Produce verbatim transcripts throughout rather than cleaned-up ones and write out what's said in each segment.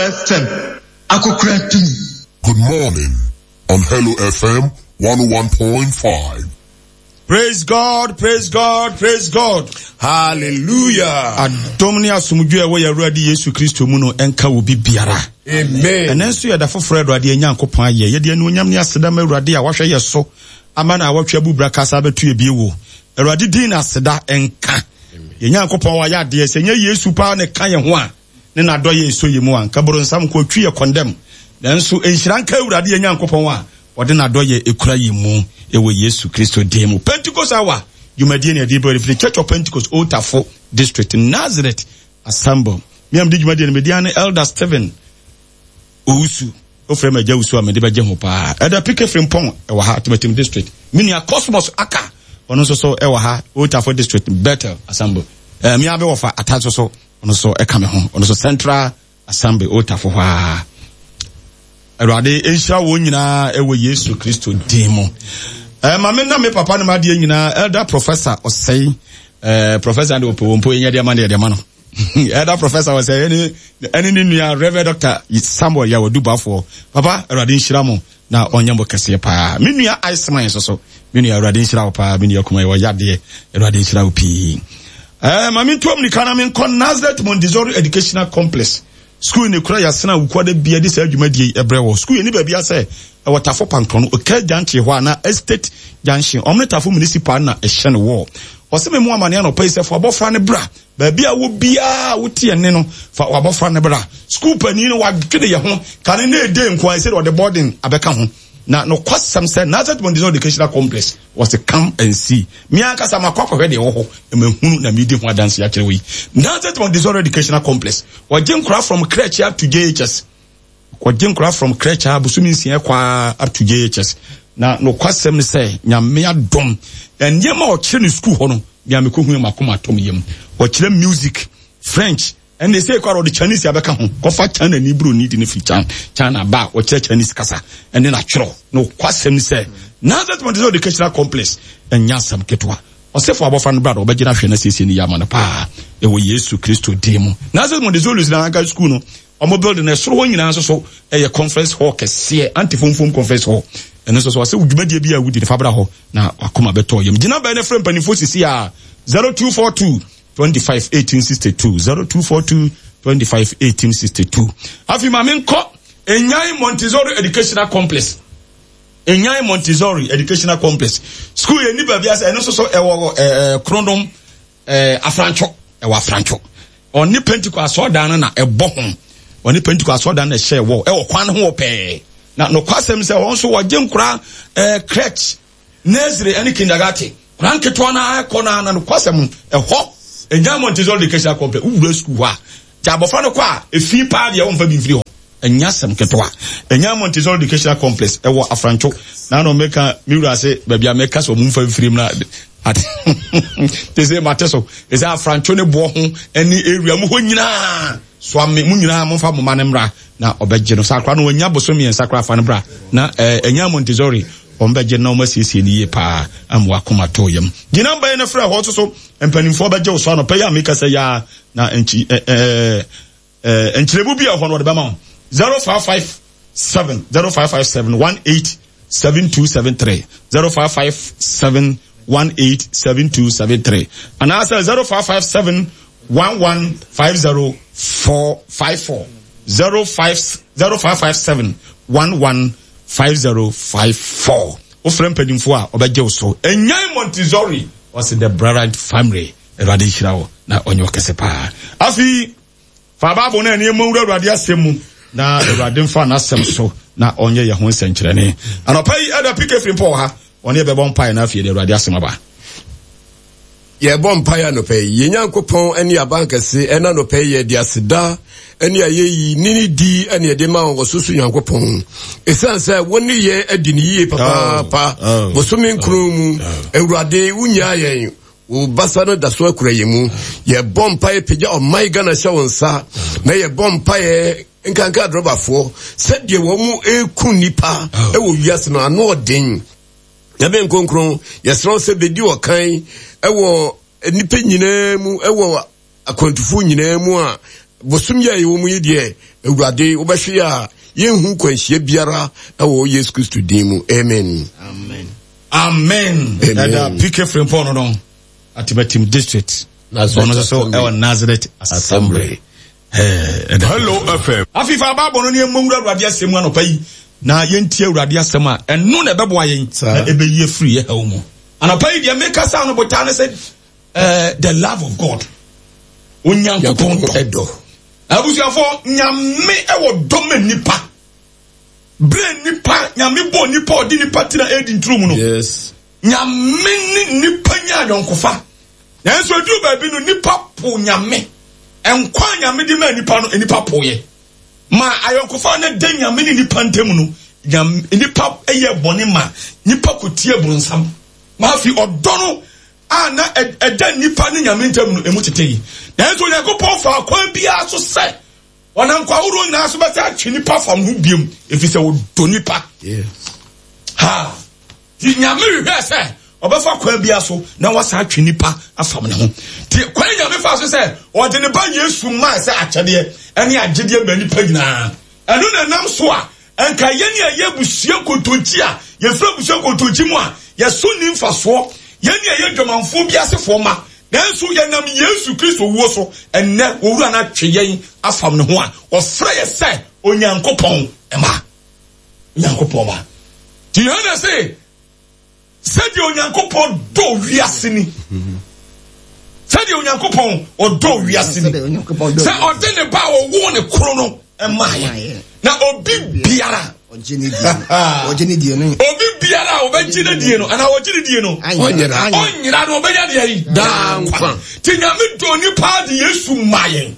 F M akokora tumi. Good morning on Hello F M one oh one point five. Praise God, praise God, praise God. Hallelujah. Adom ne asomdwe a ɛwɔ yɛn Awurade Yesu Kristo mu no ɛnka wo bi biara. Amen. Ɛnɛ nso yɛda foforɔ Awurade Nyankopɔn ayɛ. Yɛde anuonyam ne aseda ma Awurade a wahwɛ yɛ so ama na awɔtwe abubra kasa abɛto yɛ bie wo. Awurade din na aseda ɛnka. Yɛn Nyankopɔn wayɛ adeɛ sɛ nyɛ Yesu paa ne ka yɛn ho a ne n'adɔ yɛ ɛsɔ yɛ mu a nka boronsam nko otwi yɛ kɔndɛm. Nanso nhyira nka Awurade yɛn Nyankopɔn a wɔde n'adɔ yɛ ekura yɛ mu ɛwɔ Yesu Kristo din mu. Pentecost Hour dwumadie ne ɛde bɛrɛ firi Church of Pentecost, Old Tafo District, Nazareth Assembly. Miam di dwumadie no media ne Elder Stephen Owusu. Ofrɛ ma agya Wusu a mede bɛgye ho paa. Elder P K Frimpong ɛwɔ ha, Timatim District. Me Cosmos Aka ɔno nso so ɛwɔ ha, Old Tafo District, Bethel Assembly. Ɛɛ mia bɛ wɔfa ata nso so ɔno nso ɛka me ho, ɔno nso Central Assembly, Old Tafo hɔ a. Awurade nhyira wɔn nyinaa ɛwɔ Yesu Kristo din mu. Ɛɛ maame na me papa no ma adeɛ nyinaa, Elder Professor Ɔsɛe, ɛɛ Professor de ɔpɛ wɔn mpo yɛnyɛ deɛ ma no yɛ deɛ ma no. Elder Professor Ɔsɛe ɛne ɛne ne nua Reverend Doctor Samuel Yawadu Bafoɔ. Papa, Awurade nhyira mo na ɔnyɛ mo kɛseɛ paa. Me nua Iceman nso so, me nua, Awurade nhyira wo paa. Me nua kuma yɛ ɔyɛ adeɛ, Awurade nhyira wo pii. Ɛɛ maame ntuom nika na me nkɔ Nazareth Montessori Educational Complex school ne kura yasena wukuada bia de saa dwumadie yi ɛbrɛ wɔ school yɛ ni baabi asɛ ɛwɔ Tafo Pankrono Oka Junction hɔ a na Estate Junction ɔmo ne Tafo Municipal na ɛhyɛ no wɔ ɔsɛ memu amane anɔpa yi sɛ fa abɔfra ne bra. Baabi a wo biara wote ɛne no, fa wabɔfra ne bra. School panin no wadwene yɛ ho kane ne ede nko a ɛsɛ de ɔde boarding abɛka ho na nokwasɛm sɛ Nazareth Montessori Educational Complex wɔsi come and see. Mi ankasa ma kɔ akɔhwɛ deɛ ɛwɔ hɔ na ma hunu na mi di ho adanse akyerɛ wɔ yi. Nazareth Montessori Educational Complex, wɔgye nkora from crèche up to J H S. Wɔgye nkora from crèche a bosomi nsia kɔ up to J H S. Na nokwasɛm sɛ Nyame adom, nneɛma a ɔkyerɛ no school hɔ no bia mekɔ hu makoma atɔm yam. Ɔkyerɛ music, French, ɛnna ɛsɛ kɔ a ɔde Chinese abɛka ho. Kɔfa China ni buroni di ne firi China, China ba a ɔkyerɛ Chinese kasa ɛne n'atwerɛ. Nokwasɛm sɛ Nazareth Montessori Educational Complex ɛnyɛ asɛm ketewa. Ɔsɛfo abɔfra no bra da ɔbɛgyina hwɛ na siesie ne yɛ ama no paa ɛwɔ Yesu Kristo din mu. Nazareth Montessori na anka school no ɔmo building no ɛsoro hɔ nyinaa nso so ɛyɛ conference hall kɛseɛ, antifomfom conference hall. Ɛno nso so ɔsɛ dwumadie bi a wodi ne fa bra hɔ na wakoma bɛtɔ yam. Gyina bɛn ne frɛ mpanimfoɔ sisi a zero two four two twenty-five eighteen sixty-two, zero two four two twenty-five eighteen sixty-two. Afei maame nkɔ Enyan Montessori Educational Complex. Enyan Montessori Educational Complex school yɛ ni baabi asɛ ɛno nso so ɛwɔ ɛɛ Krondom, ɛɛ Afrantwo, ɛwɔ Afrantwo. Ɔne Pentecost asɔɔdan no na ɛbɔ ho. Ɔne Pentecost asɔɔdan no na ɛhyɛ wɔ ɛwɔ kwan ho wɔ pɛɛ. Na nokwasɛm sɛ wɔn nso wɔgye nkora ɛɛ crèche, nursery ɛne kindergarten, kora nketewa na akɔ na na nokwasɛm ɛhɔ Enyan Montessori Educational Complex, wowura school hɔ a gya abɔfra no kɔ a efi paa deɛ wɔmfa bi mfiri hɔ. Ɛnyɛ asɛm ketewa. Ɛnyɛ Montessori Educational Complex ɛwɔ Afrantwo na na ɔmɛka mi wura ase baabi a mɛka sɛ ɔmo nfa mfiri mu na ate te sɛ mate so ɛsɛ Afrantwo ne boɔ ho ɛne area mu hɔ nyinaa so ame mu nyinaa momfa mo ma ne mmra na ɔbɛgye no saa akora no wɔnya boso mmiɛnsa kora fa no bra na ɛɛ ɛnyɛ Montessori wɔn bɛgye na wɔn asiesie no yie paa ama wakoma tɔ yam. Gyina mbɛn no frɛ hɔ nso so mpanimfoɔ bɛgye wo so anɔpɛ yi a meka sɛ yaa na nkyi ɛɛ ɛɛ ɛɛ nkyerɛmu bi a ɛhɔ no wɔde bɛma wo zero five five seven, zero five five seven one eight seven two seven three, zero five five seven one eight seven two seven three, anaasɛ zero five five seven one one five zero four five four, zero five zero five five seven one one five zero five four. Wofrɛ mpanimfoɔ a ɔbɛgye wo so. Enyan Montessori ɔsi the Brilliant Family. Awurade nhyira wo na ɔnyɛ ɔkɛse paa. Afei fa Bible no ɛne ɛmɔ wura Awurade asɛm mu na Awurade mfa n'asɛm so na ɔnyɛ yɛn ho nsɛnkyerɛnne anɔpa yi. Ɛda P K firi mpɔ wɔ ha, ɔne yɛbɛbɔ mpaeɛ na afei de Awurade asɛm aba. Yɛbɔ mpaeɛ anɔpa yi. Yɛn Nyankopɔn ne abankɛse, ɛna anɔpa yi yɛde aseda ne ayɛyi ne ne di ne yɛde ma wɔ so so Nyankopɔn, ɛsiane sɛ wo ne yɛn adi ne yie papaapa. Oh, oh, bosome nkron mu, Awurade, wonyaa yɛn, wo basa no da so akura yɛn mu. Yɛbɔ mpaeɛ pagya ɔman Ghana hyɛ wo nsa na yɛbɔ mpaeɛ nkanka adrɔbafoɔ sɛdeɛ wɔn mu ɛku nnipa ɛwɔ wiase no ano ɔden. Nyame nkonkron, yɛsrɛ wo sɛ bɛdi ɔkan ɛwɔ nnipa nyinaa mu, ɛwɔ akwantufoɔ nyinaa mu a Bosom yi a yɛwɔ mu yi deɛ, Awurade, wobɛhwɛ yɛ a yɛnhu kwanhyia biara ɛwɔ Yesu Kristo din mu. Amen. Amen. Amen. Ɛda P K Frimpong no no Atimatim district. Ɔno nso so ɛwɔ Nazareth Assembly. Hello F M. Afifa abaabɔ no ne ɛmmɔ nwura Awurade asɛm mu anɔpa yi na yɛntie Awurade asɛm a ɛno na ɛbɛboa yɛn na ɛbɛyi afiri yɛ haw mu. Anɔpa yi deɛ mekasa no botaa ne sɛ the love of God. Onyankopɔn dɔ. Abusuafo Nyame ɛwɔ dɔ ma nipa. Bere nipa Nyame bɔ nipa ɔde nipa tena edi nturo mu no. Yes. Nyame ne nipa nya ayɔnkofa. Nanso edu baabi no nipa po Nyame. Nkwa Nyame de ma nipa no nipa po ye. Ma ayɔnkofa ne de Nyame ne nipa ntam no Nyame nipa yɛ bɔne ma nipa kotie bronsam. Ma afi ɔdɔ no a na ɛda nipa ne Nyame ntam no emu tete yi. Nanso Onyankopɔn fa akwan biara so sɛ ɔnam kwa ahorow nyinaa so bɛsɛ atwe nipa fam ho biom efisɛ ɔdɔ nipa. Yes. Ha. Ti Nyame hwehwɛ sɛ ɔbɛfa kwan biara so na wasa atwe nipa afam ne ho. Ti kwan Nyame fa so sɛ ɔde ne ba Yesu maa sɛ akyɛdeɛ ɛne agyedeɛ ma nipa nyinaa. Ɛno na nam so a ɛnka yɛne a yɛ abusua nkontonkyi a yɛfiri abusua nkontonkyi mu a yɛso ni mfasoɔ yɛne a yɛ dwamanfoɔ bi asefoɔ ma nanso yɛnam Yesu Kristo wuo so ɛnnɛ owura no atwe yɛn afam ne ho a ɔfrɛ yɛ sɛ Onyankopɔn ma. Onyankopɔn ma. Ti Yohane se sɛdeɛ Onyankopɔn dɔ wiase ni. Sɛdeɛ Onyankopɔn ɔdɔ wiase ni. Sɛ ɔde ne ba a ɔwoo ne koro no ɛma yɛ. Na obi biara obi biara a ɔbɛgye ne die no anaa ɔgye ne die no ɔnyera ɔnyera no ɔbɛnya deɛ yi daa nkwa. Ti Nyame dɔ nipa de Yesu ma yɛn.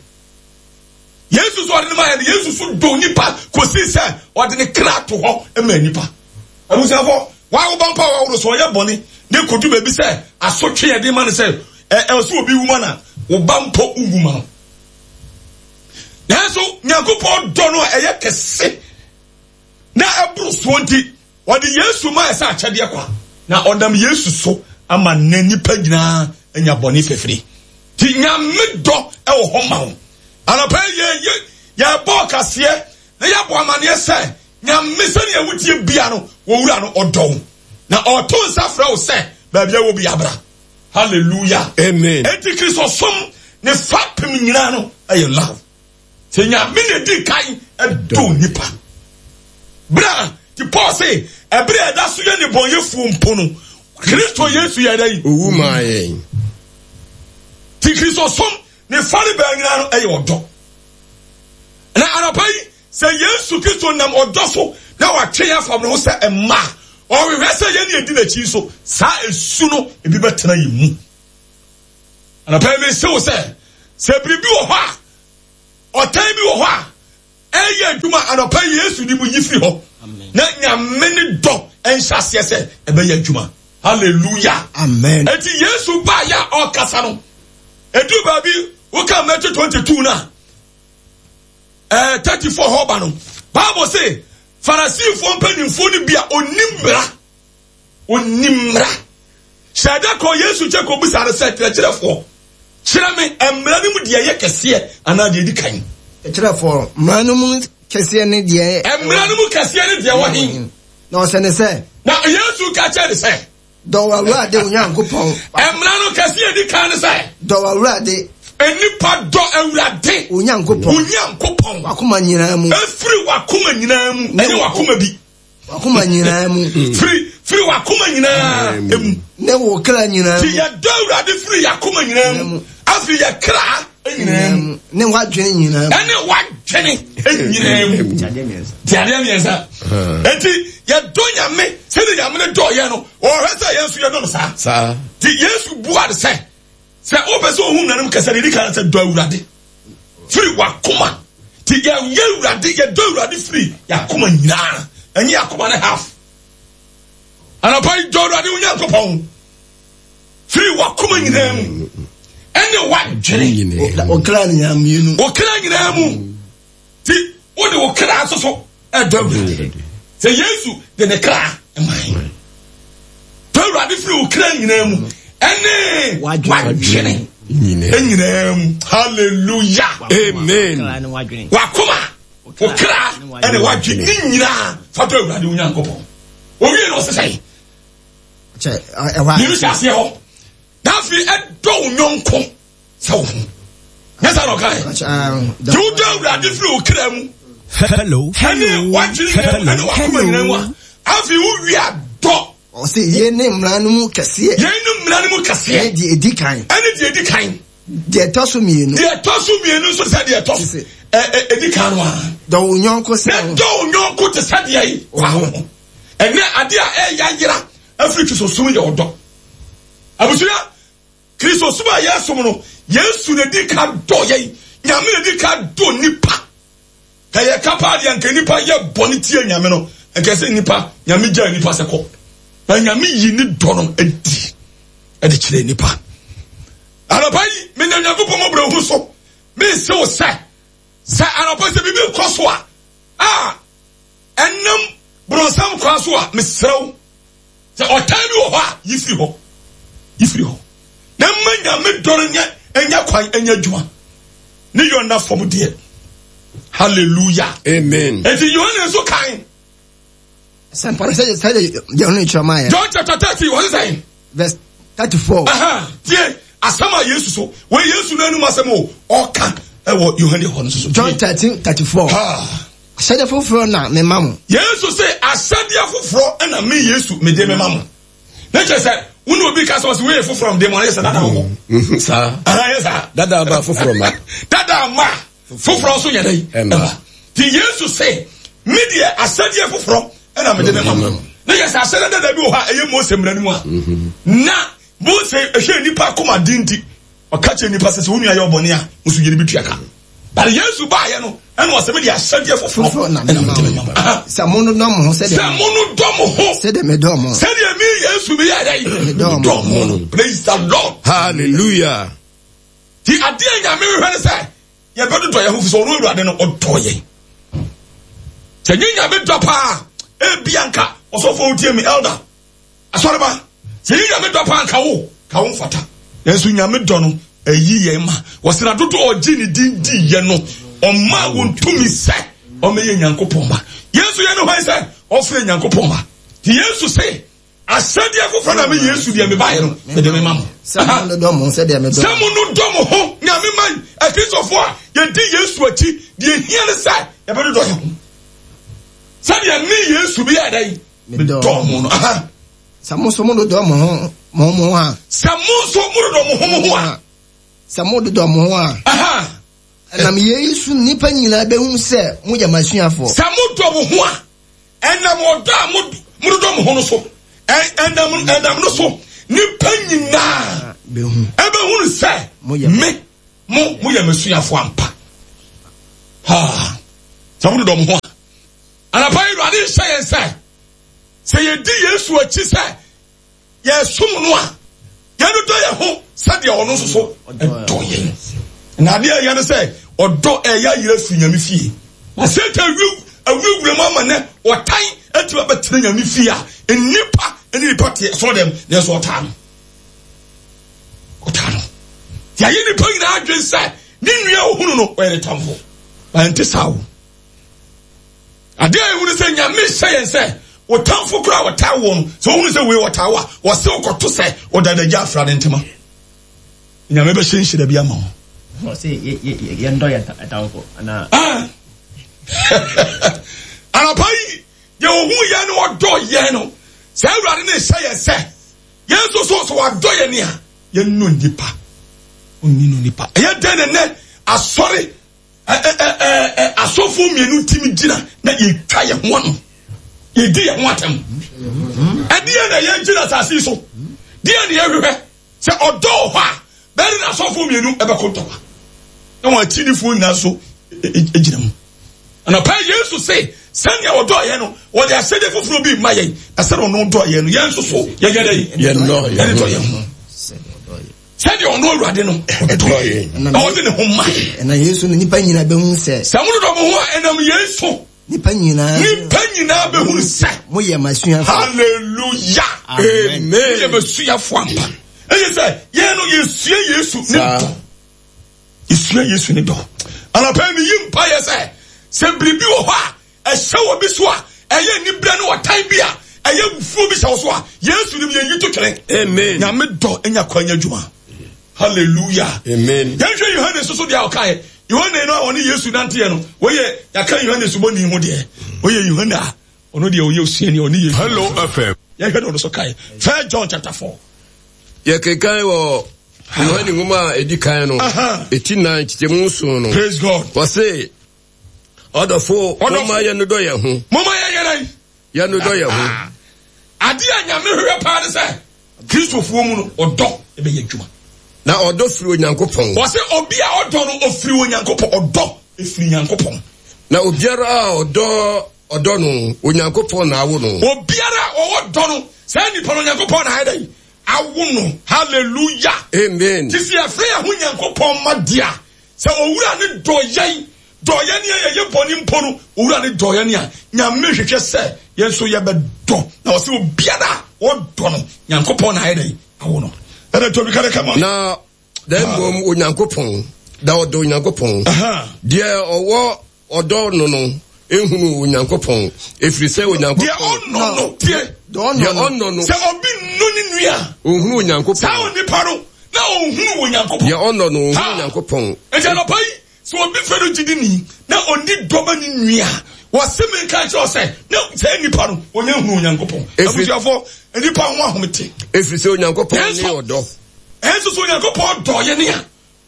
Yesu so ɔde ne ma yɛn. Yesu so dɔ nipa kɔsi sɛ ɔde ne kra to hɔ ma nipa. Abusuafo wa wo bampa wa wo so ɔyɛ bɔne ne kodu baabi sɛ asotwe yɛ de ma ne sɛ ɛ ɛ so obi wu ma na wo bampo wu ma no. Nanso Nyankopɔn dɔ no a ɛyɛ kɛse na ɛboro soɔ nti ɔde Yesu ma ɛsɛ akyɛdeɛ kwa na ɔnam Yesu so ama ne nipa nyinaa anya bɔne fɛfiri. Ti Nyame dɔ ɛwɔ hɔ ma wo. Anɔpa yɛ yɛ yɛbɔ kaseɛ na yɛbɔ amaneɛ sɛ Nyame sɛnea wotie bia no wɔwura no ɔdɔ wo na ɔto nsa frɛ wo sɛ baabi a wɔ bi abra. Hallelujah. Amen. Enti Kristo som ne fapem nyinaa no ɛyɛ love. Sɛ Nyame na di kan ɛdɔ nipa. Bra ti Paul se ɛbere a ɛda so yɛ ne bɔnyɛfoɔ mpo no Kristo Yesu yɛ dɛn? Owu maa yɛn. Ti Kristo som ne fare bɛn nyinaa no ɛyɛ ɔdɔ. Na anɔpa yi sɛ Yesu Kristo nam ɔdɔ so na watwe yɛn afam ne ho sɛ mma ɔhwehwɛ sɛ yɛn ne yɛdi n'akyi so saa esu no ebi bɛtena yɛn mu. Anɔpa yi mese wo sɛ sɛ biribi wɔ hɔ a ɔtan bi wɔ hɔ a ɛyɛ adwuma anɔpa yi Yesu di mu yi firi hɔ na Nyame ne dɔ ɛnhyɛ aseɛ sɛ ɛbɛyɛ adwuma. Hallelujah. Amen. Enti Yesu baa yɛ a ɔkasa no edu baabi woka Matthew twenty two na ɛɛ thirty four hɔ ba no Bible say Farisifoɔ mpanimfoɔ no bi a onim mmara onim mmara hyɛ da kɔ Yesu kyɛ kɔ bisa no sɛ kyerɛkyerɛfoɔ kyerɛ me mmara no mu deɛ ɛyɛ kɛseɛ anaa deɛ edi kan. Kyerɛfoɔ mmara no mu kɛseɛ ne deɛ mmara no mu kɛseɛ ne deɛ wɔ he. Na ɔsɛ ne sɛ na Yesu ka kyerɛ ne sɛ dɔ w'Awurade wo Nyankopɔn. Mmara no kɛseɛ edi kan ne sɛ dɔ w'Awurade. Nipa dɔ Awurade wo Nyankopɔn. Wo Nyankopɔn. W'akoma nyinaa mu. Efiri w'akoma nyinaa mu. Ɛnyɛ w'akoma bi. W'akoma nyinaa mu. Firi firi w'akoma nyinaa mu. Ne wo kra nyinaa mu. Ti yɛ dɔ Awurade firi y'akoma nyinaa mu. Afiri yɛ kra nyinaa mu. Ne w'adwene nyinaa mu. Ɛne w'adwene nyinaa mu. Ti adeɛ mmiɛnsa. Eti yɛ dɔ Nyame sɛdeɛ Nyame ne dɔ yɛ no ɔhwɛ sɛ yɛn nso yɛ dɔ no saa. Saa. Ti Yesu bua de sɛ sɛ wopɛ sɛ ohun nanom kɛse de di kan sɛ dɔ Awurade firi w'akoma. Ti yɛ yɛ Awurade yɛ dɔ Awurade firi y'akoma nyinaa ɛnyɛ y'akoma ne half. Anɔpa yi dɔ Awurade wo Nyankopɔn firi w'akoma nyinaa mu ɛne w'adwene. Wo kra nyinaa mmienu. Wo kra nyinaa mu. Ti wode wo kra nso so ɛdɔ Awurade. Sɛ Yesu de ne kra ɛma yɛn. Dɔ Awurade firi wo kra nyinaa mu ɛne w'adwene. Nyinaa mu. Hallelujah. Amen. Wakoma, wo kra ɛne wadwene ne nyinaa fa dɔ Awurade wo Nyankopɔn. Owie na ɔsɛ sɛn? Mmienu hyɛ aseɛ hɔ. Na afei ɛdɔ wo nyɔnko sɛ wo ho. Nyɛ saa na ɔka yɛ. Nti wodɔ Awurade firi wo kra mu. Hello, Ɛne wadwene nyinaa mu ɛne wakoma nyinaa mu a. Afei wowie a dɔ. Ɔse yei ne mmara no mu kɛseɛ. Yei ne mmara no mu kɛseɛ. Ɛne deɛ ɛdi kan. Ɛne deɛ ɛdi kan. Deɛ ɛtɔ so mmienu. Deɛ ɛtɔ so mmienu nso sɛ deɛ ɛtɔ so ɛdi kan no a. Dɔ wo nyɔnko sɛ ho. Dɔ wo nyɔnko te sɛ deɛ yi wa ho. Ɛnɛ adeɛ a ɛyɛ ayera afiri Kristosom yɛ ɔdɔ. Abusua, Kristosom a yɛsom no, Yesu na di ka dɔ yɛn. Nyame na di ka dɔ nipa. Ka yɛ ka paa deɛ nka nipa yɛ bɔne tia Nyame no, nka sɛ nipa, Nyame gyaa nipa sɛ kɔ. Na Nyame yi ne dɔ no adi ɛde kyerɛ nipa. Anɔpa yi, menam Nyankopɔn mmɔborɔhunu so, mese wo sɛ, sɛ anɔpa sɛ biribi kɔ so a, a ɛnam borɔnsam kwan so a, mesrɛ wo, sɛ ɔtan bi wɔ hɔ a, yi firi hɔ. Yi firi hɔ. Na mma Nyame dɔ no nyɛ ɛnyɛ kwan ɛnyɛ adwuma. Ne yɔ nna fam deɛ. Hallelujah. Amen. Enti Yohane nso kan. Sɛmpa no sɛdeɛ sɛdeɛ Yohane kyerɛ maa yɛ. John chapter thirteen, wɔn sɛn? Verse thirty-four. Aha, tie asɛm a Yesu so, wɔ Yesu n'anum asɛm o, ɔka ɛwɔ Yohane hɔ no so. John thirteen thirty-four. Ahyɛdeɛ foforɔ na mema mo. Yesu sɛ ahyɛdeɛ foforɔ na me Yesu mede mema mo. Ne kyerɛ sɛ wo ne obi ka sɛ ɔsɛ wei yɛ foforɔ mede ma no yɛ sɛ dada wɔ hɔ. Saa. Aha yɛ saa. Dada ba foforɔ ma. Dada ma foforɔ nso yɛ dɛ. Ɛma. Ti Yesu sɛ me deɛ ahyɛdeɛ foforɔ na mede mema mo. Ne kyerɛ sɛ ahyɛdeɛ dada bi wɔ hɔ a ɛyɛ Mose mmara no mu a. Na Mose ɛhwɛ nipa akoma den nti ɔka kyerɛ nipa sɛ sɛ wo nua yɛ ɔbɔne a nso yɛ ne bi tua ka. But Yesu baayɛ no ɛna ɔsɛ mede ahyɛdeɛ foforɔ na ɛna mede mema mo. Sɛ mo no dɔ mo ho sɛdeɛ sɛ mo no dɔ mo ho sɛdeɛ medɔ mo sɛdeɛ me Yesu meyɛ dɛ medɔ mo no. Praise the Lord. Hallelujah. Ti adeɛ Nyame hwehwɛ ne sɛ yɛbɛdodɔ yɛn ho fi sɛ ɔno Awurade no ɔdɔ yɛn. Sɛ nye Nyame dɔ paa ebia nka ɔsɔfo wotie mi elder asɔreba sɛ nye Nyame dɔ paa nka wo ka wo mfata. Nanso Nyame dɔ no ɛyi yɛn ma wɔsena dodo ɔgye ne din di yɛ no ɔma wɔn tumi sɛ ɔmɛyɛ Nyankopɔn ma. Yesu yɛ ne hwan sɛ ɔfrɛ Nyankopɔn ma. Ti Yesu se ahyɛdeɛ foforɔ na me Yesu deɛ mebaeɛ no mede mema mo. Sɛ mo no dɔ mo ho sɛdeɛ medɔ Sɛ mo no dɔ mo ho Nyame ma Akristofoɔ a yɛdi Yesu akyi deɛ hia ne sɛ yɛbɛdodɔ yɛn ho sɛdeɛ me Yesu meyɛ dɛn medɔ mo no. Sɛ mo nso mo dodɔ mo ho mo ho a. Sɛ mo nso mo dodɔ mo ho mo ho a. Sɛ mo dodɔ mo ho a. Ɛnam yei so nnipa nyinaa bɛhu sɛ moyɛ m'asuafoɔ. Sɛ mo dɔ mo ho a, ɛnam ɔdɔ a mo dodɔ mo ho no so, ɛnam ɛnam no so nnipa nyinaa ɛbɛhunu sɛ me mo moyɛ m'asuafoɔ ampa. Ha, sɛ mo dodɔ mo ho a, anapa yi Awurade nhyɛ yɛn sɛ sɛ yɛdi Yesu akyi sɛ yɛsom no a, yɛdodɔ yɛn ho sɛdeɛ ɔno nso so dɔ yɛn. Na adeɛ ɛyɛ no sɛ ɔdɔ ɛyɛ ayerɛ firi Nyame fie. Na Satan awurawura mu ama nɛ ɔtan atumi abɛtena Nyame fie a nnipa ne nnipa te ɛsɔre dɛm nanso ɔtaa no. Ɔtaa no. Yɛayɛ nnipa nyinaa adwene sɛ ne nua ohunu no ɔyɛ ne tamfo. Na ɛnte saa o. Adeɛ a ɛhu ne sɛ Nyame hyɛ yɛn sɛ wo tamfo koraa a ɔtaa woɔ no, sɛ wohunu sɛ wei ɔtaa wo a, ɔse wokɔto sɛ ɔda n'agya afra ne ntoma. Nyame bɛhyɛ nhyira bi ama wo. Ɔse yɛndɔ yɛn tamfo anaa? Ah. Anɔpa yi, deɛ ɔhu yɛn no ɔdɔ yɛn no, sɛ Awurade ne hyɛ yɛn sɛ yɛn nso so sɛ wadɔ yɛn a, yɛnnɔ nnipa. Ɔnni no nnipa. Ɛyɛ dɛn na nnɛ asɔre asɔfoɔ mmienu timi gyina na yɛtwa yɛn ho ano yɛdi yɛn ho atɛm ɛdeɛ na yɛgyina asase yi so deɛ na yɛhwehwɛ sɛ ɔdɔ wɔ hɔ a bɛyɛ na asɔfoɔ mmienu ɛbɛko ntɔkwa na wɔn akyinifoɔ nyinaa nso gyina mu anɔpa Yesu se sɛnea ɔdɔ yɛn no wɔde ahyɛdeɛ foforɔ bi ma yɛn na sɛnea ɔno dɔ yɛn no yɛn nso so yɛyɛ dɛ yɛn dɔ yɛn ho sɛdeɛ ɔno Awurade no ɔdɔ yɛn na ɔde ne ho ma yɛn. Ɛnam Yesu no nnipa nyinaa bɛhunu sɛ. Sɛ mododɔ mo ho a ɛnam Yesu. Nnipa nyinaa. Nnipa nyinaa bɛhunu sɛ. Moyɛ m'asuafoɔ. Hallelujah. Amen. Moyɛ m'asuafoɔ ampa. Ɛyɛ sɛ yɛn no yɛsua Yesu ne dɔ. Yɛsua Yesu ne dɔ. Anɔpa yi meyi mpaeɛ sɛ sɛ biribi wɔ hɔ a ɛhyɛ wɔ bi so a ɛyɛ aniberɛ ne ɔtan bi a ɛyɛ wufuo bi hyɛ wo so a Yesu nim yɛyi to twene. Amen. Nyame dɔ nya kwan nya adwuma. Hallelujah. Amen. Yɛnhwɛ Yohane soso deɛ a ɔkaeɛ. Yohane no a ɔne Yesu nanteɛ no, wɔyɛ yɛaka Yohane subɔni ho deɛ. Wɔyɛ Yohane a ɔno deɛ ɔyɛ osuani ɔne Yesu. Hello F M. Yɛhwɛ deɛ ɔno so kaeɛ. First John chapter four. Yɛkenkan wɔ Yohane nwoma a ɛdi kan no, ɛti nan kyekyɛmu nson no. Praise God. Wɔse, ɔdɔfo, momma yɛnnodɔ yɛn ho. Momma yɛnyɛ dɛn? Yɛnnodɔ yɛn ho. Adeɛ a Nyame hwehwɛ paa ne sɛ Kristofoɔ mu no, ɔdɔ bɛyɛ adwuma. Na ɔdɔ firi Onyankopɔn. Wɔse obi a ɔdɔ no, ɔfiri Onyankopɔn. Ɔdɔ firi Nyankopɔn. Na obiara a ɔdɔ ɔdɔ no, Onyankopɔn na awo no. Obiara a ɔwɔ dɔ no, saa nipa no Onyankopɔn na ayɛ dɛn? Awo no. Hallelujah. Amen. Ti sɛ yɛfrɛ yɛn ho Nyankopɔn mma deɛ a, sɛ owura ne dɔ yɛn, dɔ yɛn ne yɛyɛ bɔne mpo no, owura ne dɔ yɛn a, Nyame hwehwɛ sɛ yɛn nso yɛbɛdɔ. Na ɔsɛ obiara a ɔdɔ no, Nyankopɔn na ayɛ dɛn? Awo no. Ɛna tobi ka de kama. Na na mmom Onyankopɔn, da ɔdɔ Onyankopɔn. Deɛ ɔwɔ ɔdɔ no no, ehunu Onyankopɔn, efiri sɛ Onyankopɔn. Deɛ ɔnɔ no tie. Deɛ ɔnɔ no. Sɛ obi nnu ne nua. Ohunu Onyankopɔn. Saa onipa no na ohunu Onyankopɔn. Deɛ ɔnɔ no ohunu Onyankopɔn. Eti anɔpa yi sɛ obi fɛ no gyidi ni na ɔni dɔma ne nua, wɔse me nka kyerɛ sɛ na saa nipa no ɔnyɛ hunu Onyankopɔn. Abusuafo, nipa ho ahomete. Efiri sɛ Onyankopɔn ne ɔdɔ. Ɛnso so Onyankopɔn dɔ yɛ ne a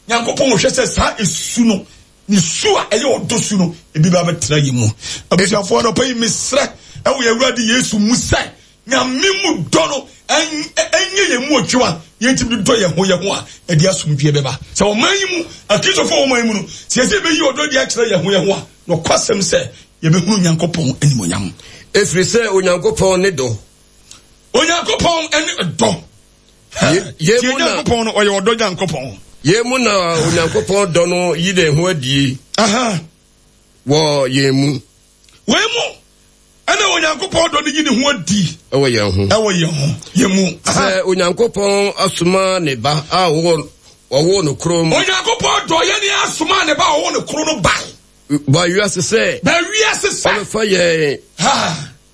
Nyankopɔn hwɛ sɛ saa esu no ne su a ɛyɛ ɔdɔ su no ebi ba bɛtena yɛ mu. Abusuafoɔ anɔpa yi mesrɛ ɛwɔ yɛn Awurade Yesu mu sɛ Nyame mu dɔ no ɛnyɛ yɛn mu adwuma yɛntumi dɔ yɛn ho yɛn ho a ɛde asomdwoeɛ bɛba. Sɛ ɔman yi mu Akristofoɔ ɔman yi mu no sɛ yɛsɛ yɛbɛyi ɔdɔ de akyerɛ yɛn ho yɛn ho a nɔkwasɛm sɛ yɛbɛhunu Nyankopɔn animuonyam. Ɛfiri sɛ Onyankopɔn ne dɔ. Onyankopɔn ne dɔ. Yɛn mu na Nyankopɔn no ɔyɛ ɔdɔ Nyankopɔn. Yɛn mu na Onyankopɔn dɔ no yi ne ho adie. Wɔ yɛn mu. Wei mu ɛna Onyankopɔn dɔ no yi ne ho adi. Ɛwɔ yɛn ho. Ɛwɔ yɛn ho. Yɛn mu. Sɛ Onyankopɔn asoma ne ba a ɔwɔ ɔwɔ no koro mu. Onyankopɔn dɔ yɛn ni asoma ne ba a ɔwɔ no koro no ba. Ba wiase sɛ. Ba wiase sɛ. Ɔbɛfa yɛn.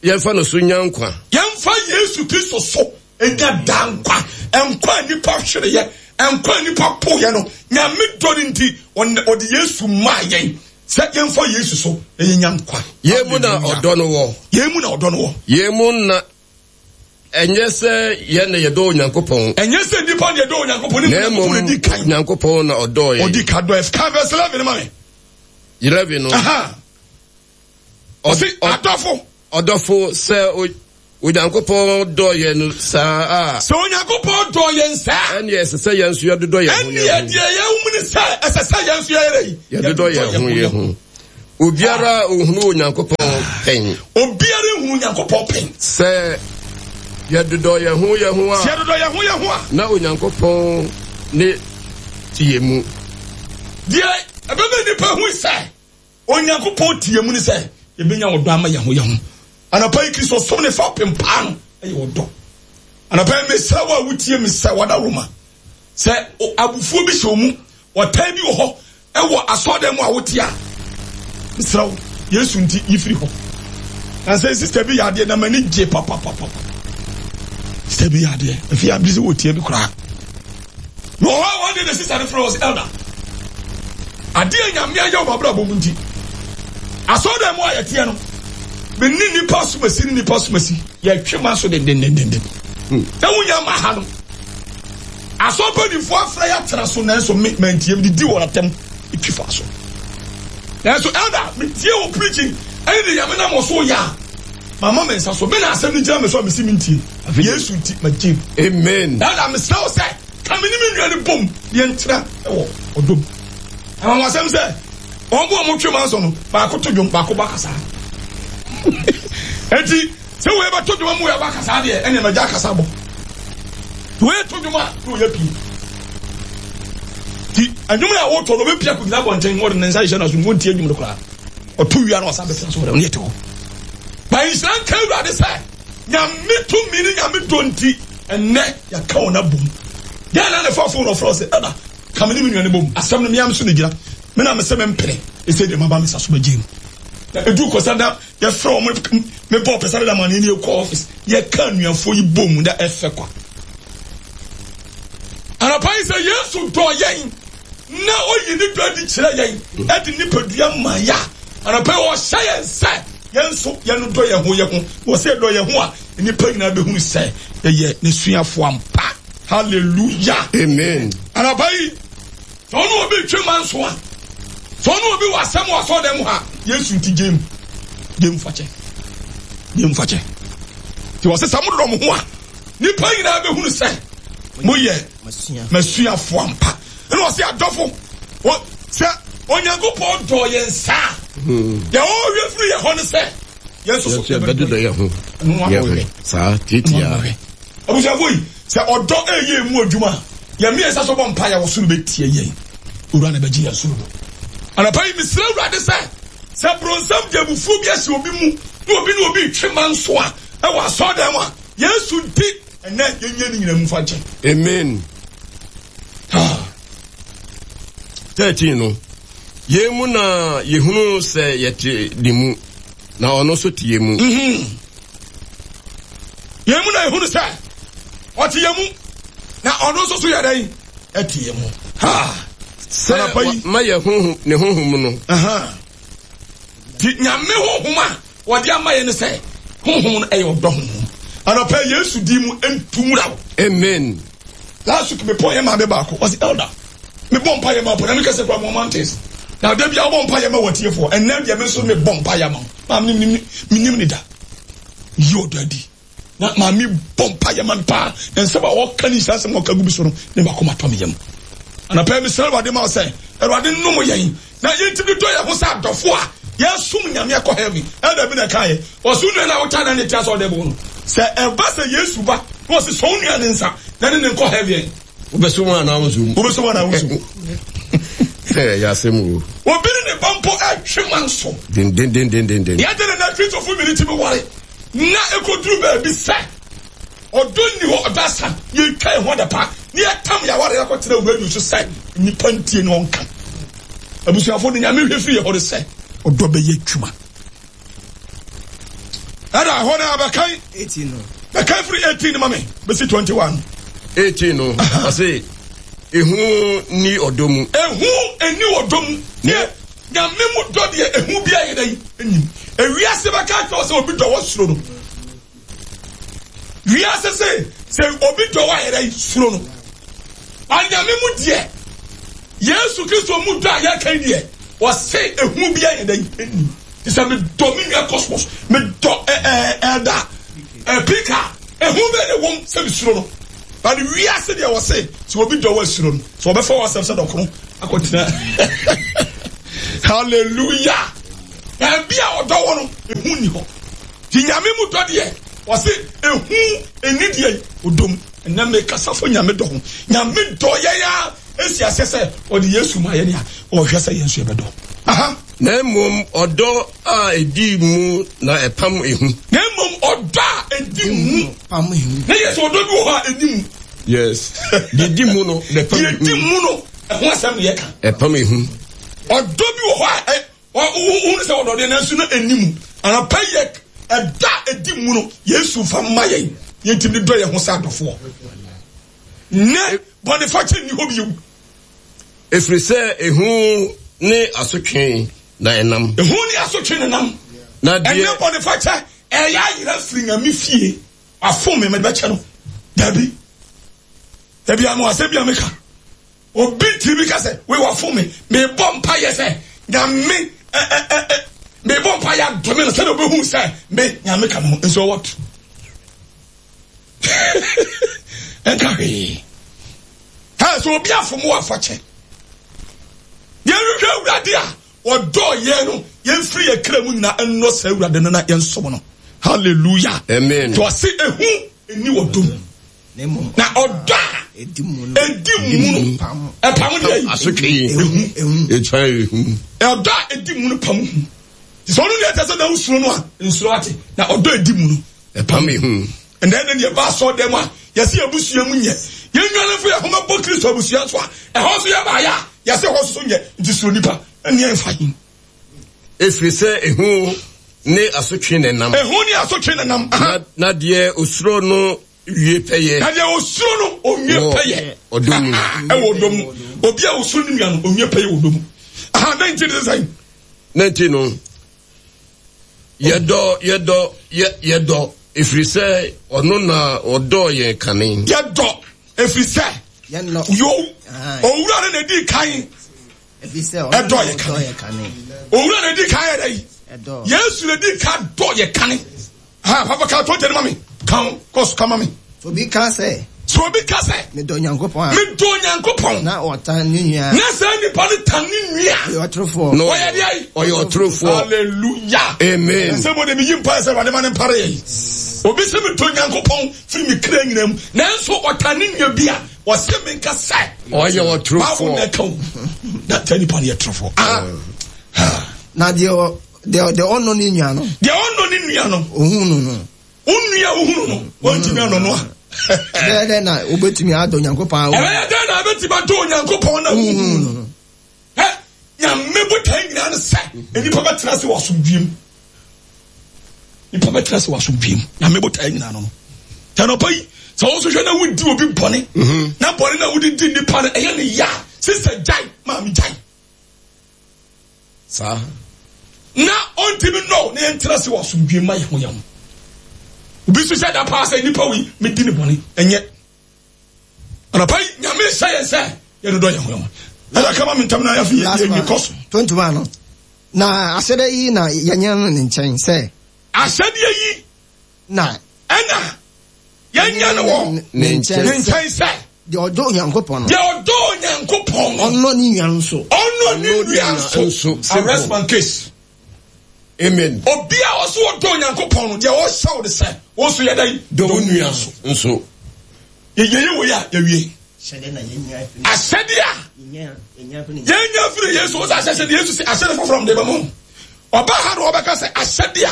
Yɛmfa no so nya nkwa. Yɛmfa Yesu Kristo so nya daa nkwa. Nkwa a nipa hwereyɛ, nkwa a nipa poyɛ no, Nyame dɔ no nti, ɔde Yesu maa yɛn sɛ yɛmfa Yesu so na yɛnya nkwa. Yɛn mu na ɔdɔ no wɔ. Yɛn mu na ɔdɔ no wɔ. Yɛn mu na ɛnyɛ sɛ yɛn na yɛdɔ Onyankopɔn. Ɛnyɛ sɛ nipa na yɛdɔ Onyankopɔn, ne Onyankopɔn na di kan. Onyankopɔn na ɔdɔ yɛn. Ɔdi kan dɔ yɛn. Kan verse eleven ma me. Eleven no. Ɔsi adɔfo. Ɔdɔfo sɛ Onyankopɔn dɔ yɛn saa a. Sɛ Onyankopɔn dɔ yɛn saa. Ɛnneɛ ɛsɛ sɛ yɛn nso yɛdodɔ yɛn ho yɛn ho. Ɛnneɛ deɛ yɛn mu ne sɛ ɛsɛ sɛ yɛn nso yɛyɛ yi. Yɛdodɔ yɛn ho yɛn ho. Obiara ohunu Onyankopɔn pɛn. Obiara ehunu Onyankopɔn pɛn. Sɛ yɛdodɔ yɛn ho yɛn ho a. Sɛ yɛdodɔ yɛn ho yɛn ho a. Na Onyankopɔn ne te yɛn mu. Deɛ ɛbɛma nipa hu sɛ Onyankopɔn te yɛn mu ne sɛ yɛbɛnya ɔdɔ ama yɛn ho yɛn ho. Anɔpa yi Kristo som ne fa pempaa no ɛyɛ ɔdɔ. Anɔpa yi mesrɛ wo a wotie me sɛ wada Roma sɛ abufuo bi hyɛ wo mu, ɔtan bi wɔ hɔ ɛwɔ asɔredan mu a wote a, mesrɛ wo Yesu nti yi firi hɔ. Na sɛ sista bi yɛ adeɛ na m'ani gye papapapa. Sista bi yɛ adeɛ afei abiri sɛ wɔtie bi koraa. Na ɔhɔ a wɔn de ne sista no frɛ wɔ sɛ elder. Adeɛ Nyame ayɛ wɔ m'abrabɔ mu nti asɔredan mu a yɛteɛ no me ne nipa somasi ne nipa somasi yɛtwe ma so dendendenden. Na wonya ma ha no asɔrepanyinfoɔ afrɛ yɛ atena so nanso me mantie me didi wɔn atɛm twi fa so. Nanso elder metie wɔ preaching ɛne de Nyame nam wɔ so yɛ a mama me nsa so me na asɛm no gyina me so a mesi mentie. Yesu nti magye. Amen. Elder mesrɛ wo sɛ ka me ne me nua no bom yɛntena wɔ ɔdɔ mu. Anwanwasɛm sɛ wɔn bo a wɔtwe ma nso no baako to dwom baako bɔ akasa. Enti sɛ wei bɛto dwom mu wei abɔ akasa deɛ ɛnna magya akasa bɔ. Wei to dwom a na ɔyɛ pii. Ti ɛnwom a wɔtɔ no ɔbɛpia kɔgyina abɔnten wɔde ne nsa hyehyɛ n'aso mu wɔntie dwom no koraa. Ɔto wia na ɔsan bɛtena so wɔde ɔne ɛte hɔ. Ba nhyira nka Awurade sɛ Nyame tumi ne Nyame dɔ nti ɛnnɛ yɛaka wɔn abom. Deɛ na ne fa phone ɔfrɛ sɛ ɛda ka me ne me nua ne bom asɛm no meam so ne gyina me na mesɛ mempene ɛsɛ deɛ maba me sa so bɛgye mu. Na ɛdu kɔsa da yɛfrɛ wɔn mebɔ pɛ sɛ da ma ne ne yɛkɔ office yɛka anuafoɔ yi bom da ɛfɛ kwa. Anɔpa yi sɛ Yesu dɔ yɛn na oyi ne dɔ adi kyerɛ yɛn ɛde nipadua ma ya. Anɔpa yi ɔhyɛ yɛn sɛ yɛn nso yɛn dɔ yɛn ho yɛn ho. Wɔ sɛ yɛdɔ yɛn ho a nnipa nyinaa bɛhunu sɛ yɛyɛ n'asuafoɔ ampa. Hallelujah. Amen. Anɔpa yi sɛ ɔne obi twe ma nso a, sɛ ɔne obi wɔ asɛm wɔ asɔredan mu ha, Yesu nti gye mu. Gye mu fakyɛ. Gye mu fakyɛ. Nti wɔ sɛ sɛ mododɔ mo ho a, nnipa nyinaa bɛhunu sɛ moyɛ m'asuafoɔ ampa. Ɛna ɔse adɔfo, sɛ Onyankopɔn dɔ yɛn saa, deɛ ɔrehwɛ firi yɛn hɔ ne sɛ yɛn nso so yɛbɛdodɔ yɛn ho. Yɛn ho saa tiatia. Abusuafo yi, sɛ ɔdɔ ɛyɛ emu adwuma a, yɛn mmiɛnsa so bɔ mpa yɛ wɔ soro bɛtie yɛn. Owura na bɛgye yɛn soro do. Anɔpa yi mesrɛ Awurade sɛ, sɛ bronsam de abufuo bi ahyɛ obi mu na obi ne obi retwe ma nso a ɛwɔ asɔredan mu a, Yesu nti ɛnɛ yɛnyɛ ne nyinaa mu fa nkyɛn. Amen. thirteen no, yɛn mu na yɛhunu sɛ yɛte ne mu, na ɔno nso te yɛn mu. Mm-hmm. Yɛn mu na yɛhunu sɛ ɔte yɛn mu, na ɔno nso so yɛ dɛn? Ɛte yɛn mu. Ha! Sɛ ma yɛ honhom ne honhom no. Ti Nyame honhom a wɔde ama yɛn ne sɛ honhom no ɛyɛ ɔdɔ honhom. Anɔpa Yesu di mu ntumura wo. Amen. Last week me pɔn yɛ maame baako ɔsi elder me bɔ mpa yɛ ma pɔ na me kɛse kura mo mountains na de bia ɔbɔ mpa yɛ ma wɔ tiefoɔ ɛnɛ deɛ me nso me bɔ mpa yɛ ma maame nim nim me nim ne da yi ɔdɔ adi na maame bɔ mpa yɛ ma me paa na nsɛm a ɔka ne nhyira nsɛm a ɔka gu bi so no ne baako ma tɔ me yam. Anɔpa yi mesrɛ Awurade ma wo sɛ Awurade nnom yɛn na yɛntumi dɔ yɛn ho sɛ adɔfo a yɛsom Nyame akɔ heaven. Ɛda bi na ɛkaeɛ ɔso nua no a wotaa na ne te asɛ ɔde bo no sɛ ɛba sɛ Yesu ba na ɔse sɔ wo nua ne nsa na ne ne nkɔ heaven. Wobɛso mu anaa wonso mu? Wobɛso mu anaa wonso mu? Ɛyɛ asɛm o. Obi ne ne ba mpo ɛtwe ma nso. Dendendendenden. Yɛde ne na Kristofo mmienu tumi ware na ɛkɔduru baabi sɛ ɔdɔ nni hɔ, ɔdɔ asa, yɛtwa yɛn ho adapa na yɛtam yɛn aware akɔtena radio so sɛ nnipa ntie na ɔnka. Abusuafo de Nyame hwɛ firi yɛ hɔ no sɛ ɔdɔ bɛyɛ adwuma. Ɛda hɔ no abɛkan bɛkan firi eighteen no ma me bɛsi twenty-one. eighteen no ɔse ehu ni ɔdɔ mu. Ehu ni ɔdɔ mu. Ne Nyame mu dɔ deɛ ehu bi ayɛ dɛ enyim. Ewiase bɛka kyerɛ sɛ obi dɔ wɔ soro no. Wiase se sɛ obi dɔ wɔ ayɛ dɛ soro no. Anyame mu deɛ Yesu Kristo mu dɔ a yɛka deɛ ɔse ehu bi ayɛ dɛ enyim. Ti sɛ me dɔ me nua Cosmos, me dɔ ɛɛ ɛda ɛpika ehu bɛ ne wɔm sɛ me suro no. But wiase deɛ wɔse sɛ obi dɔ wɔ suro no sɛ wɔbɛfa wɔ asɛm sɛ dɔkono akɔtena. Hallelujah. Baabi a ɔdɔ wɔ no ehu ni hɔ. Ti Nyame mu dɔ deɛ wɔse ehu eni deɛ ɔdɔ mu. Ɛnɛ mekasa fo Nyame dɔ ho. Nyame dɔ yɛn a esi aseɛ sɛ ɔde Yesu ma yɛn a ɔhwɛ sɛ yɛn nso yɛbɛdɔ. Aha. Na mmom ɔdɔ a edi mu na ɛpam ehu. Na mmom ɔdɔ a edi mu. Pam ehu. Na yɛ sɛ ɔdɔ bi wɔ hɔ a edi mu. Yes. Deɛ edi mu no na ɛpam ehu. Deɛ edi mu no ɛho asɛm na yɛka. Ɛpam ehu. Ɔdɔ bi wɔ hɔ a ɔhunu sɛ ɔdɔ deɛ nanso no eni mu. Anɔpa yɛ ɛda edi mu no Yesu fa mma yɛn yɛntumi dɔ yɛn ho sɛ adɔfoɔ. Ne bɔnefakyɛ nni hɔ bio. Ɛfiri sɛ ehu ne asotwe na ɛnam. Ehu ne asotwe na ɛnam. Na deɛ ɛnɛ bɔnefakyɛ ɛyɛ ayera firi Nyame fie. Afom me mede bɛkyɛ no. Dabi. Dabi ano asɛm bi a meka. Obi tiri bi ka sɛ wei wafom me. Mebɔ mpa yɛ sɛ Nyame ɛ ɛ ɛ ɛ mebɔ mpa yɛ adome no sɛdeɛ obehu sɛ me Nyame ka me ho. Nso what? Ɛnka hwee. Ha sɛ obi afom wɔ afakyɛ. Yɛnhwehwɛ Awurade a ɔdɔ yɛn no, yɛmfiri yɛn kra mu nyinaa ɛnnɔ saa Awurade no na yɛnsom no. Hallelujah. Amen. To ɔse ehu ɛni ɔdɔ mu. Na ɔdɔ a ɛdi mu no ɛpam deɛ yi. Asotwe ehu. Ɛtwa ehu. Ɔdɔ a ɛdi mu no pam hu. Sɛ ɔno deɛ ɛtɛ sɛ na wosuro no a nsuro ate. Na ɔdɔ ɛdi mu no ɛpam ehu. Ɛnna ɛnna deɛ ɛba asɔ dɛm a yɛsi abusua mu nyɛ. Yɛn nuanom fo yɛ ho bɛbɔ Kristo abusua so a ɛhɔ nso yɛ baayɛ a yɛsi hɔ nso nyɛ nti suro nipa ɛnni ɛnfa yi. Efiri sɛ ehu ne asotwe na ɛnam. Ehu ne asotwe na ɛnam. Na na deɛ osuro no wie pɛyɛ. Na deɛ osuro no onwie pɛyɛ. Ɔdɔ mu. Ɛwɔ ɔdɔ mu. Obi a osuro ne nua no onwie pɛyɛ wɔ ɔdɔ mu. Aha nineteen ne sɛn. Nineteen no yɛdɔ yɛdɔ yɛ yɛdɔ efiri sɛ ɔno na ɔdɔ yɛn kane. Yɛdɔ efiri sɛ yo owura no na edi kan. Ɛdɔ yɛ kane. Owura na edi kan yɛ dɛ yi. Yesu na edi kan dɔ yɛ kane. Ha papa ka twenty ma mi. Kan kɔsu ka ma mi. Obi ka sɛ. So obi ka sɛ. Medɔ Nyankopɔn a. Medɔ Nyankopɔn. Na ɔtan ne nua. Na saa nipa no tan ne nua. Ɔyɛ ɔtorofoɔ. No. Ɔyɛ deɛ yi. Ɔyɛ ɔtorofoɔ. Hallelujah. Amen. Sɛ mo de mi yi mpa sɛ Awurade ma ne mpare yɛ yi. Obi sɛ medɔ Nyankopɔn firi mi kra nyinaa mu. Nanso ɔtan ne nua bi a ɔsɛ mi nka sɛ. Ɔyɛ Bible na ɔtorofoɔ. ɛka o. Na saa nipa no yɛ torofoɔ. Ah. Na deɛ deɛ deɛ ɔnnɔ ne nua no. Deɛ ɔnnɔ ne nua no. Ohun no no. Wo nua wohunu no, wɔntumi anɔ no a. Ɛbɛyɛ dɛn na wobɛtumi adɔ Onyankopɔn a Ɛbɛyɛ dɛn na wobɛtumi adɔ Onyankopɔn na wohunu no no? Ɛ Nyame botae nyinaa ne sɛ nnipa bɛtena ase wɔ asomdwie mu. Nnipa bɛtena ase wɔ asomdwie mu. Nyame botae nyinaa no no. Tɛnɔpa yi, sɛ wo nso hwɛ na wodi obi bɔne, na bɔne na wode di nnipa no, ɛyɛ ne ya. Sista gyae, maame gyae. Saa. Na ɔntumi nnɔ na yɛntena ase wɔ asomdwie ma yɛn ho yɛn ho. Obi nso hyɛ da paa sɛ nnipa wei medi ne bɔne ɛnyɛ. Anɔpa yi Nyame hyɛ yɛn sɛ yɛdodɔ yɛn ho yɛn ho. Ɛna kama me ntam na yɛafi yɛ kɔ so. Twenty one no. Na ahyɛdeɛ yi na yɛnyɛ no ne nkyɛn sɛ. Ahyɛdeɛ yi na ɛna yɛnyɛ no wɔ ne nkyɛn ne nkyɛn sɛ. Deɛ ɔdɔ Onyankopɔn no. Deɛ ɔdɔ Onyankopɔn no. Ɔnnɔ ne nua nso. Ɔnnɔ ne nua nso. Arrest my case. Amen. Obi a ɔso ɔdɔ Onyankopɔn no, deɛ ɔhyɛ wo de sɛ, wo nso yɛ dɛn? Dɔ wo nua nso. Nso. Yɛyɛ wei a yɛwie. Ahyɛdeɛ a yɛnya firi Yesu wo sɛ ahyɛhyɛ deɛ Yesu sɛ ahyɛde foforɔ mde bɛma ɔba ha na ɔbɛka sɛ ahyɛdeɛ a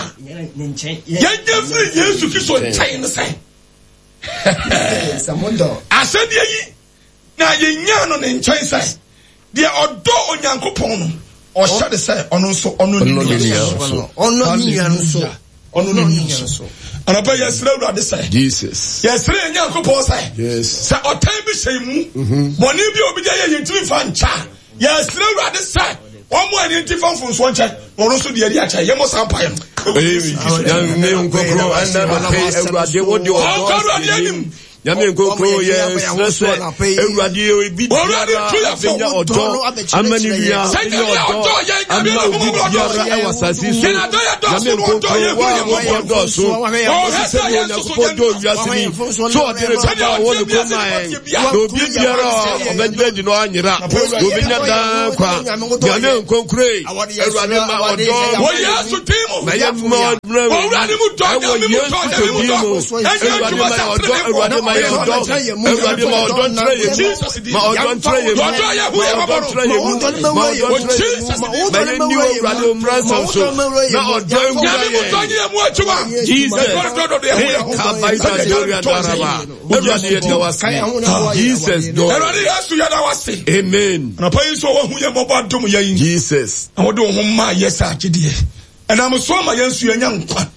yɛnya firi Yesu Kristo nkyɛn ne sɛ ahyɛdeɛ yi na yɛnya no ne nkyɛn sɛ deɛ ɔdɔ Onyankopɔn no ɔhyɛ de sɛ ɔno nso ɔno ne nua nso ɔno ne nua nso ɔno ne nua nso. Anɔpa yɛsrɛ Awurade sɛ Jesus. Yɛsrɛ yɛn Nyankopɔn sɛ Yes. sɛ ɔtan bi hyɛ mu bɔne bi a obi de ayɛ yɛn ntumi fa nkyɛ a yɛsrɛ Awurade sɛ wɔn a yɛn ti fa mfonsoɔ nkyɛ na ɔno nso deɛ adi akyɛ yɛmmɔ saa mpaeɛ no. Nyame nkokoro ɛnna nɔpɛ Awurade wo de ɔdɔ Ɔnkɔ Awurade anim. Nyame nkokoro yɛ srɛ sɛ Awurade obi biara abɛnya ɔdɔ ama ne nua Sɛ abɛnya Nyame ɔdɔ ɔdɔ yɛn, Nyame ama obi ɔdɔ biara yɛn. ɛwɔ asase so Yɛn adɔ yɛ dɔɔso Nyame na ɔdɔ nkokoro yɛn wo a hu yɛn wodɔ dɔɔso Ɔhwɛ ɔse sɛ sɛdeɛ yɛn nso so Onyankopɔn yɛn dɔ wiase ni sɛ ɔde ne Sɛdeɛ ba a ɔwɔ ne ɔteɛ kɔn wiase maa nipa yɛn teɛ biara. na obi biara a ɔbɛgyina adi no anyera na obɛnya daa nkwa Nyame nkonkoro yi Awurade ma ɔdɔ Wɔ Yesu din mu. ma yɛ mma ɔmmerɛ Wɔ Awurade mu dɔ, ɛwɔ Nyame mu Yesu dɔ, Kristo Nyame mu din dɔ. mu Ɛnyɛ Awurade adwuma ma sɛ yɛ ɔdɔ ateneneefoɔ. Awurade ma yɛ ɔdɔ Awurade ma ɔdɔ ntrɛ yɛ mu ma ɔdɔ ntrɛ yɛ mu Ɔdɔ yɛ hu ma yɛ ɔdɔ mmɔbɔ no. ntrɛ yɛ mu ma ɔdɔ ntrɛ yɛ mu ma yɛ nni Awurade mmara nsɛm so na ɔdɔ nwura Nyame mu dɔ yɛn nyɛ mu adwuma. Jesus Ɛdɔ dɔ dɔ yɛ hu yɛ ho. kabaita doria daraba Awurade yɛ da wase Jesus dɔ Awurade Yesu yɛda wo ase. Amen Anɔpa yi nso wahu yɛn mmɔbɔ adom yɛn. Jesus Na wode wo ho maa yɛ sɛ agyedeɛ. Ɛnam so ama yɛn nso yɛnya nkwa.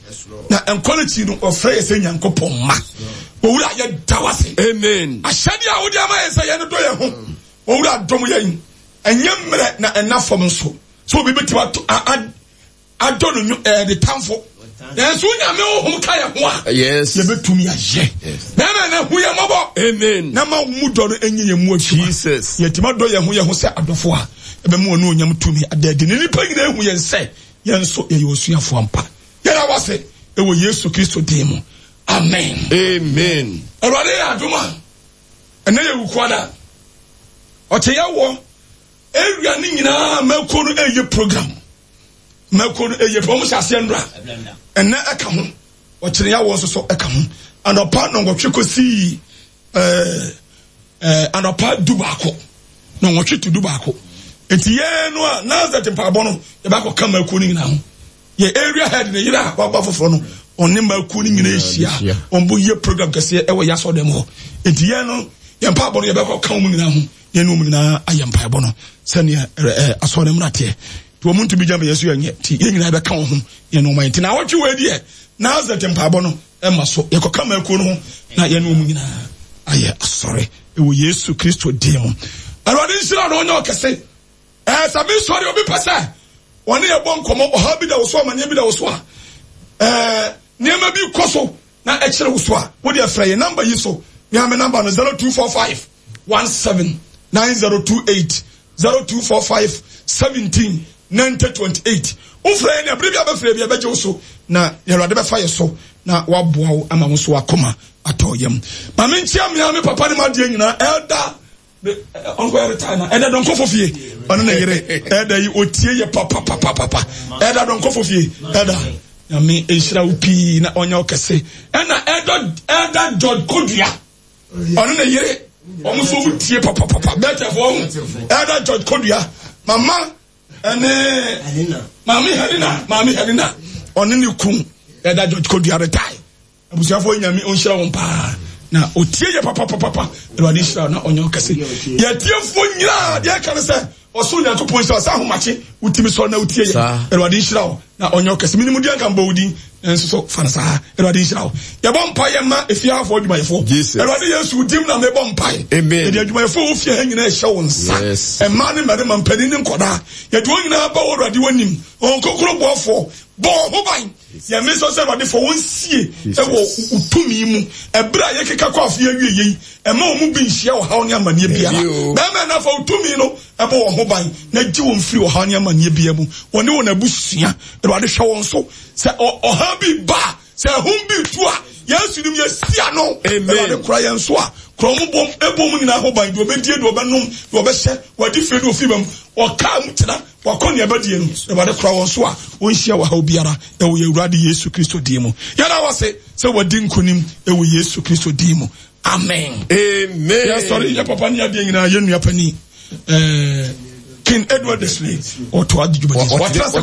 Na nkwa no akyi no ɔfrɛ yɛ sɛ Nyankopɔn mma. Owura yɛda wo ase. Amen Ahyɛdeɛ a wode ama yɛn sɛ yɛn dɔ yɛn ho. Owura dom yɛn. Ɛnyɛ mmerɛ na ɛna fam nso. Sɛ obi bɛtumi ato a- a- adɔ no nwo- ɛɛ, ne tamfo. Nanso Nyame honhom ka yɛn ho a Yes yɛbɛtumi ayɛ. Bɛrima na hu yɛn mmɔbɔ. Amen Na ma wo mu dɔ no ɛnyɛ yɛn mu adwuma. Jesus Yɛtumi adɔ yɛn ho yɛn ho sɛ adɔfo a ɛbɛma wɔn onyam tumi ada adi ne nnipa nyinaa hu yɛn sɛ yɛn nso yɛyɛ osuafoɔ ampa. Yɛda wo ase ɛwɔ Yesu Kristo din mu. Amen. Amen Awurade yɛ adom a ɛnɛ yɛ wukuada. Ɔkyɛ yɛwɔ area ne nyinaa mɛko no ɛyɛ program. Mɛko no ɛyɛ program. Wɔn hyɛ aseɛ nnora. Ɛnɛ ɛka ho. Ɔkyerɛ yɛwɔ nso so ɛka ho. Anɔpa nɔnkɔtwe kɔsii ɛɛ ɛɛ anɔpa du baako. Nɔnkɔtwe to du baako. Nti yɛn no a Nazareth mpaabɔ no yɛbɛakɔ ka mɛko no nyinaa ho. Yɛ area head ne yere a waba foforɔ no Ɔne mmakuo no nyinaa ahyia. Wɔn bo yɛ program kɛseɛ ɛwɔ yɛ asɔrɔdan mu hɔ. Enti yɛn no, yɛn mpaebɔ no yɛbɛkɔ ka wɔn nyinaa ho. Yɛn ne wɔn nyinaa ayɛ mpaebɔ no sɛnea ɛɛ asɔrɔdan mu no ateɛ. Nti wɔn ntumi gya yɛn so yɛnyɛ. Nti yɛn nyinaa yɛbɛka wɔn ho yɛn ne wɔn ayɛ. Nti naawɔtwe wei deɛ, Nazareth mpaebɔ no ɛma so. Yɛkɔka mmakuo no ho na yɛn ne wɔn nyinaa ayɛ asɔre ɛwɔ Yesu Kristo din mu. Awurade nhyira na ɔnyɛ ɔkɛse. Ɛɛ sɛ mesɔre obi pɛ sɛ wɔne yɛ bɔ nkɔmmɔ, ɔhaw bi da wo so, amanneɛ bi da wo so a, ɛɛ nneɛma bi kɔ so na ɛkyerɛ wo so a, wode afrɛ yɛ namba yi so. Mea me namba no zero two four five one seven nine zero two eight, zero two four five seventeen ninety twenty eight. Wofrɛ yɛn a, bere bi a bɛfrɛ bi a bɛgye wo so na Awurade bɛfa yɛ so na waboa wo ama wo so akoma atɔ yam. Ma menkyia mmea me papa ne m'adeɛ nyinaa, elder ɔnkɔ yɛ retire na ɛda dɔnkɔfo fie ɔne ne yere ɛda yi otie yɛ papapapapa ɛda dɔnkɔfo fie ɛda nyame nhyira wo pii na ɔnyɛ ɔkɛse ɛna ɛda ɛda George Kodua ɔne ne yere wɔn nso wɔn tie papapapa bɛtɛfo ɔho ɛda George Kodua mama ɛne maame Helena maame Helena ɔne ne kun ɛda George Kodua retire. Abusuafoɔ nyame ɔnhyira wɔn paa na ɔtie yɛ papapapapa. Awurade nhyira na ɔnyɛ ɔkɛse. Yɛtiefoɔ nyinaa deɛ ɛka ne sɛ ɔsoro Nyankopɔn nhyira sɛ ahomakye wotumi sɔre na wotie yɛ. Awurade nhyira wo na ɔnyɛ ɔkɛse. Menim deɛ nka mbɔ wo din nanso so fa no saa. Awurade nhyira wo. Yɛbɔ mpa yɛ ma efiafoɔ adwumayɛfoɔ. Awurade Yesu dim na mebɔ mpae. Yɛde adwumayɛfoɔ wɔ fie ha nyinaa ɛhyɛ wo nsa. Mmaa ne mmarima, mpanin ne nkɔdaa. Yɛde wɔn nyinaa ba wɔ Awurade w'anim. Wɔn kokoro boafoɔ. Bɔ wɔn ho ban. Yɛn nso sɛ Awurade fa wɔn sie wɔ wo tumi mu. Ɛberɛ a yɛkeka kɔ afe awie yei, ɛma wɔn mu bi nhyia ɔhaw ne amanneɛ biara. Bɛrima na fa wo tumi no ɛbɔ wɔn ho ban na gye wɔn firi ɔhaw ne amanneɛ biara mu. Wɔne wɔn abusua, Awurade hwɛ wɔn so. Sɛ ɔhaw bi ba a, sɛ ɛhom bi tu a, Yesu nim yɛsi ano. Awurade kora yɛn so a, kora wɔn bom, ɛbɔ wɔn nyinaa ho ban, deɛ ɔbɛdie, deɛ ɔbɛnom, deɛ ɔbɛhyɛ, wɔadi fie ne ofiri bam, ɔkaa mu tena, wakɔ nea ɛbɛdie no. Awurade kora wɔn so a, wɔnhyia ɔhaw biara ɛwɔ yɛn Awurade Yesu Kristo din mu. Yɛda wo ase sɛ wɔadi nkonim ɛwɔ Yesu Kristo din mu. Amen. Amen. Yɛsɔre yɛ papa ne adeɛ nyinaa yɛn nua panin ɛɛ King Edward Desley ɔtɔ adi dwumadi. Wɔtena ase